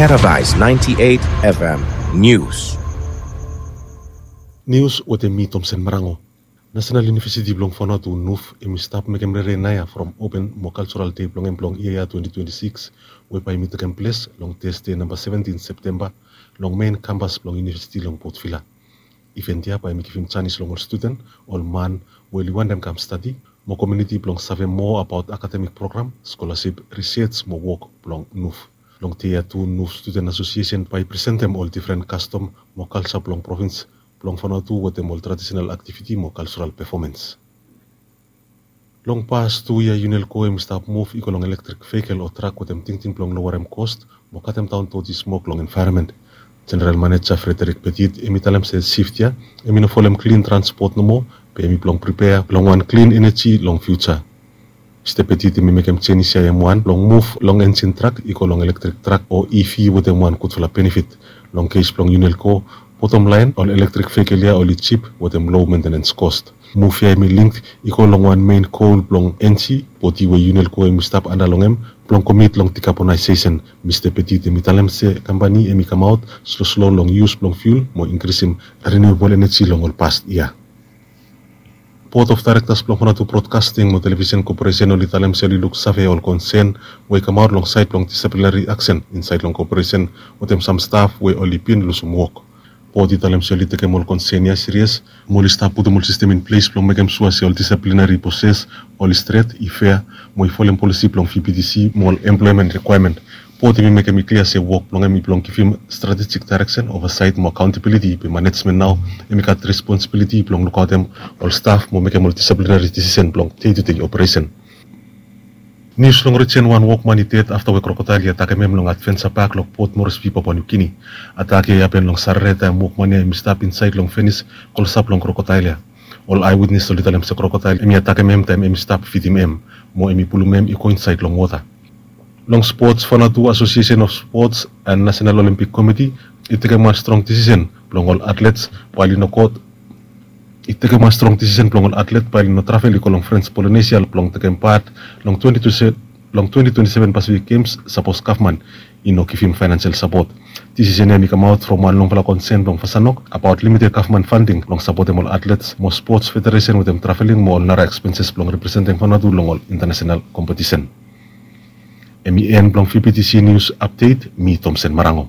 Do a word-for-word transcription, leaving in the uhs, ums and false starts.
Paradise ninety-eight F M News. Nius wetem mi, Tomsen Marango. Nasenal Univesiti blong Vanuatu, nuf, hemi stap mekem rere naoia from open mo kaljoral dei blong hem blong yia ya twenty twenty-six, we bae hemi tekem ples long Tesde namba seventin Septemba long mein kampas blong univesiti long Port Vila. Iven ya bae hemi givim janis long ol studen, ol man we oli wantem kam stadi, mo komuniti blong save moa abaot akademik program, skolasip, risej mo wok blong nuf. Long dei ya tu, nuf Studen Asosiesen bae i presentem ol difren kastom mo kalja blong provins blong Vanuatu wetem ol tradisenal aktiviti mo kaljoral pefomens. Long pas tu yia, UNELCO hemi stap muv i go long elektrik vehikel o trak wetem tingting blong lowerem kos mo katemdaon doti smok long envaeronmen. Jeneral Maneja Frederick Petit hemi talem se sift ya hemi no folem klin transpot nomo, be hemi blong pripea blong wan klin eneji long fiuja. Mista Petit hemi mekem jenis ya hem wan blong muv long enjin trak i go long elektrik trak o E V wetem wan gudfala benefit. Long kes blong UNELCO, botom laen, ol elektrik vehikel ya oli jip wetem low maintenance cost. Muv ya hemi link i go long wan mein gol blong enji bodi we UNELCO hemi stap anda long hem blong komit long dekabonaesesen. Mista Petit hemi talem se kampani hemi kamaot sloslo long yus blong fiul mo inkrisim renewable eneji long ol pas yia. Board of Directors blong Vanuatu Broadcasting mo Television Corporation oli talem se oli luksave ol konsen we i kamaot long saed blong disiplinari aksen insaed long koperesen wetem sam staf we oli bin lusum wok. Bod i talem se oli tekem ol konsen ya sirias mo oli stap putum ol sistem in ples blong mekem sua se ol disiplinari proses oli stret, i fea, mo i folem polisi blong V B T C mo ol emploemen rikwaemen. Bod hemi mekem i klia se wok blong hem i blong givim stratejik daereksen, ovasaet mo akaontabiliti, be manejmen nao hemi gat responsibiliti blong lukaotem ol staf mo mekem ol disiplinari disisen blong dei tu dei operesen. Nius long rijen, wan wokman i ded afta we krokodael i atakem hem long Adventure Park long Port Moresby, Papua New Guinea. Atak ya i hapen long Sarere taem wokman ya hemi stap insaed long fenis klosap long krokodael ya. Ol aewitnes oli talem se krokodael hemi atakem hem taem hemi stap fidim hem mo hemi pulum hem i go insaed long wota. Long spots, Vanuatu Association of Sports and National Olympic Committee i tekem wan strong disisen blong ol atlets bae oli no got i tekem wan strong disisen blong ol atlet bae oli no travel i go long French Polynesia blong tekem pat long twenty twenty-seven Pacific Games, sapos gavman i no givim faenasel sapot. Disisen ya hemi kamaot from wan longfala konsen blong Vasanok abaot limited gavman fanding blong sapotem ol atlets mo spots federesen wetem traveling mo ol nara ekspenses blong representem Vanuatu long ol intanasenal kompetisen. Hemi en blong V B T C Nius Apdet, mi Tomsen Marango.